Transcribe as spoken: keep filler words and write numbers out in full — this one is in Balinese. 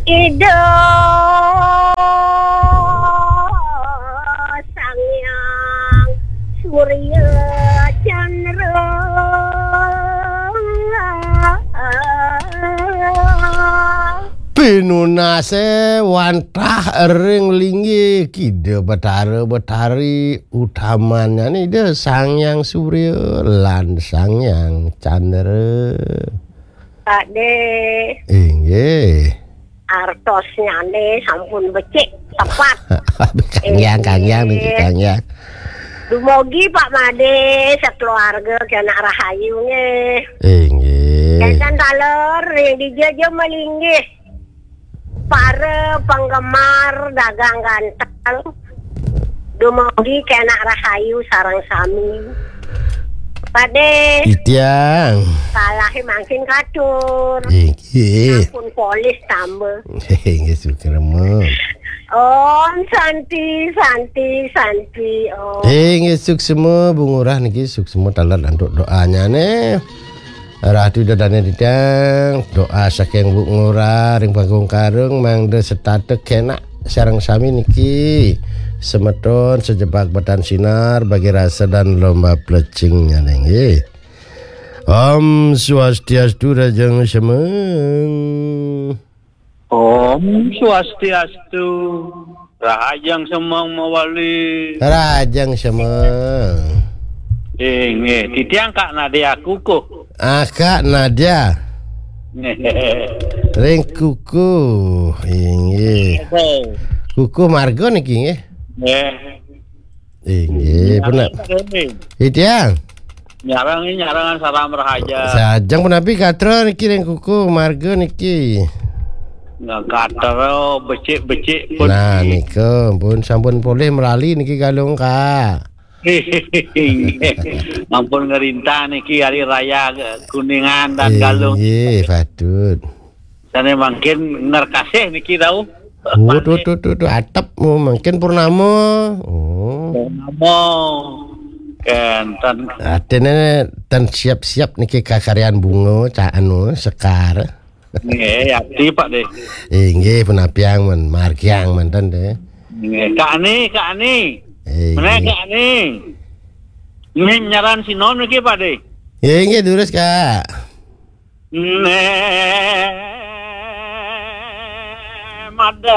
Ida Sang Hyang Surya Chandra. Pinunase wantah ring linggih Ida Betara Betari, utamanyane Ida Sang Hyang Surya lan Sang Hyang Chandra. Pak De. Inggih. Artosnyane sampun becik tepat. Kang Hyang, Kang Hyang niki, Kang Hyang. Dumogi Pak Made sekeluarga kena rahayu nggih. Inggih. Enten taler ring dija ja malinggih. Para penggemar dagang gantel. Dumogi kena rahayu sareng sami. Pak De. Titiang. Salahe mangkin katur. Inggih. Sampun polis tambah. Inggih, suksma. Om Santi, Santi, Santi, Om. Inggih, suksma, Bu Ngurah niki suksma taler antuk doanyane. Ratu Ida Dane Titiang, doa saking Bu Ngurah ring Panggung Karung mangda setata kenak sareng sami niki. Semeton sejebak betan sinar bagi rasa dan lomba plecing nyane nggih. Om Swastiastu, Rahajeng Semeng. Om Swastiastu. Rahajeng Semeng mawali. Rahajeng Semeng. Inggih, titiang Kak Nadia Kukuh. Ah, Kak Nadia. Nggih. Ring Kukuh. Inggih. Kukuh marga niki nggih. Nggih. Inggih, pun. Titiang. Nyarang, nyarangan salam rahaja. Sajeng punapi gatra niki ring Kukuh marga niki. Nah, gatra becik-becik pun. Nah, nika pun sampun polih melali niki Galung, Kak. Ampun ngerintah niki hari raya Kuningan dan Galung. Inggih, patut. Sane mangkin ngerkasih niki tau. Oh, tuh, tuh, tuh, tuh, atep, oh, mangkin purnama. Oh. Purnama. Kenten. Atene ten siap-siap niki kakaryan bunga, ca-, anu, sekar. Nggih, ati, Pak De. Inggih, punapiang men, margiang menten De. Nggih, Kak Ani, Kak Ani. Inggih. Meneh, Kak Ani. Nggih, nyaran sinom niki, Pak De. Nggih, nggih, durus, Kak. Neh, madan